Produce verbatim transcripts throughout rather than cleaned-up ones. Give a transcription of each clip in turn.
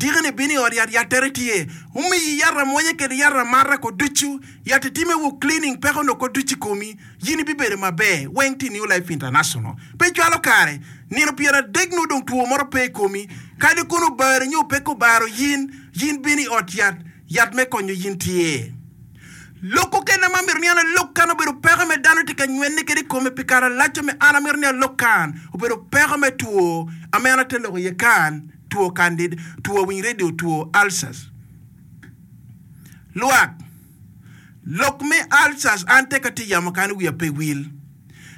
Dikini bino i ot yat yattere tye. Omiyi yat amwonya kede yat amata ko ducu. Yat itime wu cleaning peko onongo ko ducu i komi. Yin ibibedo maber. Weng tye i New Life International. Pe cwalo kare. Nino pyeradek nongo dong two moro pe i komi. Kadi kono obari nyo pe kobaro yin, yin bino i ot yat, yat me konyo yin tye. Lok okene ma amito ni an alok kan obedo peko me dano tye ka nywene kede i kome pi kare alac ame an amito ni alok kan obedo peko me two ame an ate loko iye kan, two candid, two winy radio, two ulcers. Lwak, lok me ulcers an tek atye yamo kan wiya pe wil.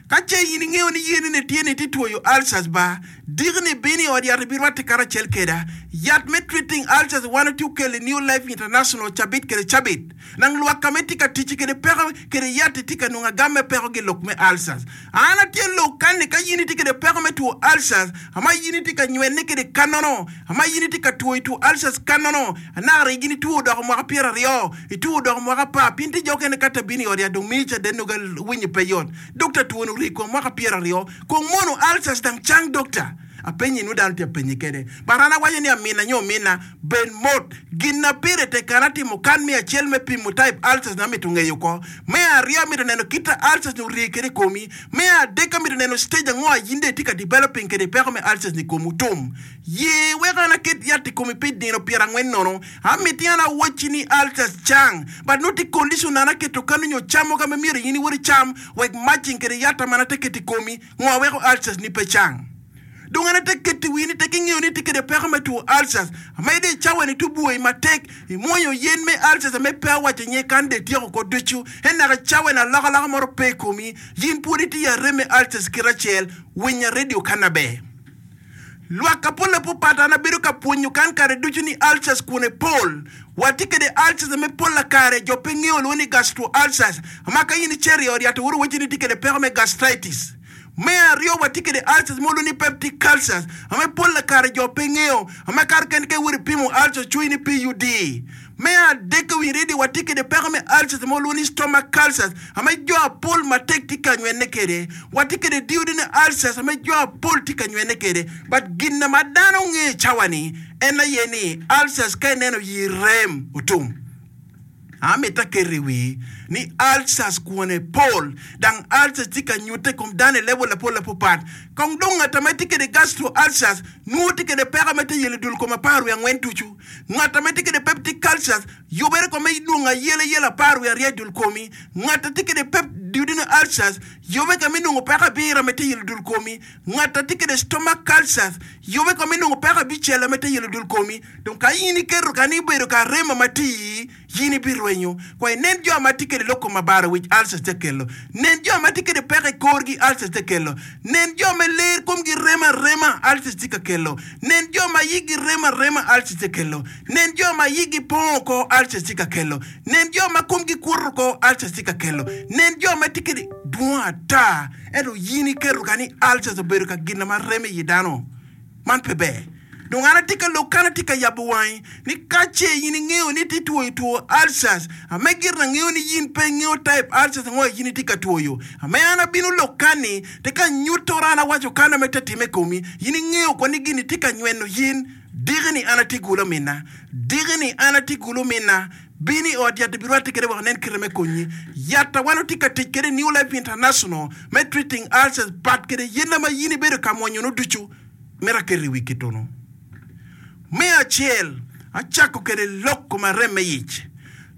Ka ce in ingeyo ni yeni ni tye ni itye twoyo ulcers ba, diki ni ibino i ot yat ibirwatte karacel keda. Yat me treating ulcers wan watye okelo i New Life International cabit kede cabit. Nang lwak ka ma itye ka tic kede peko kede yat itye ka nongo agam me peko gi lok me ulcers. An atye lok kan ni ka in itye kede peko me two ulcers, ama in itye ka nywene kede kanono, ama in itye ka twoyo two ulcers kanono, anaka rik in itwo odoko mwaka pyeraryo, itwo odoko mwaka apar, pien tye jo okene ka te bino i ot yat dong miyo caden nongo winyo pe yot. Dokta twoni ori kom mwaka pyeraryo, kong mono ulcers dang cang dokta? Apenyi nwo dano tye apenyi kede. But an awaco ni amina nyo omina, bed mot. Gin na pire tek kan atimo kan me acel me pimo type ulcers na amito ngeyo ko. Me aryo amito neno kit a ulcers ni orii kede i komi. Me adek amito neno stage ango a yin dong itye ka developing kede peko me ulcers ni i komu tum. Ye wek an aket yat i komi pi nino pyerangwen nono. Amiti an awacci ni ulcers cang, but nongo tye condition an aketo kanu nyo camo ka ma myero in iwot icam wek matching kede yatta ma an ate keto i komi ngo weko ulcers ni pe cang. Dong an ate keto i wii ni tek ingeyo ni itye kede peko me two ulcers, amede i cawa ni tubwoi matek, imwonyo yen me ulcers ame pe awaco nye kan dong ityeko ko ducu, en naka cawa ni alokaloka moro pe i komi, yin pwod itye i arem me ulcers kit acel, winya radio kana ber. Lwak ka polle pupat an abedo ka pwonyo kan kare ducu ni ulcers kwone pol. Watye kede ulcers ame polla kare jo pe ngeyo lwongo ni gastro ulcers ma ka in icito i ot yat oworo wacci ni itye kede peko me gastritis. Me aryo watye kede ulcers mo lwongo ni peptic ulcers ame polla kare jo pe ngeyo ame kare kene ka iwoto ipimo ulcers cwinyi ni P U D. Me adek ka winyo radio watye kede peko me ulcers ma walwongo ni stomach ulcers ame jo apol matek tye ka nywene kede. Watye kede duodenal ulcers ame jo apol tye ka nywene kede. But gin ma dano ngeyo i cawa ni en aye ni ulcers ka ineno yi rem otum. Amito aketo i wii ni ulcers kwone pol dang ulcers tye ka nyute i kom dano i level apol apopat. Kong dong ngat ma tye kede gastro ulcers nwo tye kede peko ma tye yelo dul kom apar wiye angwen ducu. Ngat ma tye kede peptic ulcers yubere kome idwongo ayela yela apar wiye aryo i dul komi. Ngat ma tye kede pep duodenal ulcers yube kame inongo peko abiro ma tye yelo dul komi. Ngat ma tye kede stomach ulcers yube kome inongo peko abicel ma tye yelo dul komi. Dong ka in iketo ka ni ibedo ka remo ma tye iyi, yin ibirwenyo. Kwa inen jo ma tye kede lok kom abaro wic ulcers tye kelo. Nen jo ma tye kede peko i korgi ulcers tye kelo. Nen jo me ler komgi remo arema ulcers tye ka kelo. Nen jo ma yigi remo arema ulcers tye kelo. Nen jo ma yigi pongo oko ulcers tye ka kelo. Nen jo ma komgi kuto oko ulcers tye ka kelo. Nen jo ma tye kede dwong ata ento yin iketo ka ni ulcers obedo ka gin ma remo i yi dano. Man pe ber. Dong an atye ka lok kan atye ka yabo wangi ni ka ce in ingeyo ni itye twoyo two ulcers, ame gire angeyo ni in pe ingeyo type ulcers ango in itye ka twoyo. Ame an abino lok kan ni te ka nyutora an awaco kan ame te time i komi, in ingeyo ko ni gini tye ka nyweno yin. Diki ni an atye gulo minna. Diki ni an atye gulo minna. Bin i ot yat ibirwatte kede wek onen kite me konyi. Yat a wan watye ka tic kede i New Life International me treating ulcers pat kede yena ma in ibedo ka mwonyono ducu. Mito aketo i wi kitunu. Me acel, acako kede lok kom arem me yic.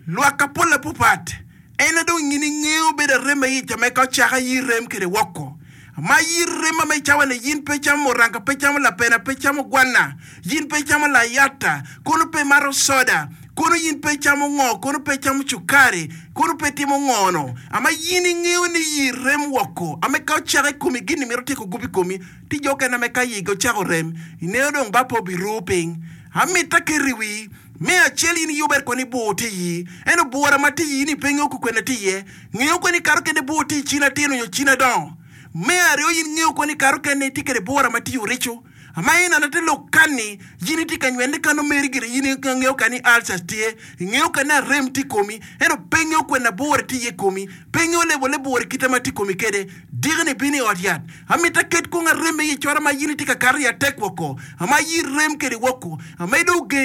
Lwak apol apupat, en na dong in ingeyo bedo arem me yic ame ka ocaka yi rem kede woko. Ma yi rem ame icawa ni yin pe icamo muranga, pe icamo lapena, pe icamo gwana, yin pe icamo layata, kono pe imato soda, kono yin pe icamo ngo, kono pe icamo cukari, kono pe itimo ngo no. Ama yin ingeyo ni yi rem woko, ame ka ocaka i komi gin ni mito tyeko gup i komi, Ti jo okene me ka yigi ocako rem, ineno dong ba pe obiru piny. Amito aketo i wii, me acel in iyubere koni bur tye iyi, ento bura ma tye iyi ni pe ingeyo kukwene tye iye. Ngeyo koni kato kene bur tye i cin atino nyo cin adongo. Me aryo in ngeyo koni kato kene itye kede bura ma tye i orico. Ama in anate lok kanni, yin itye ka nywene kano meri gire yin ingeyo kani ulcers tye, ingeyo kani arem tye i komi, ento pe ingeyo kwene bura tye iye i komi, pe ingeyo lebole bura kite ma tye i komi kede. Diki-ni bino i ot yat. Amito aket kong arem i cora ma in itye ka kato i atek woko, ama ayi rem kede woko, ama idong ogeng.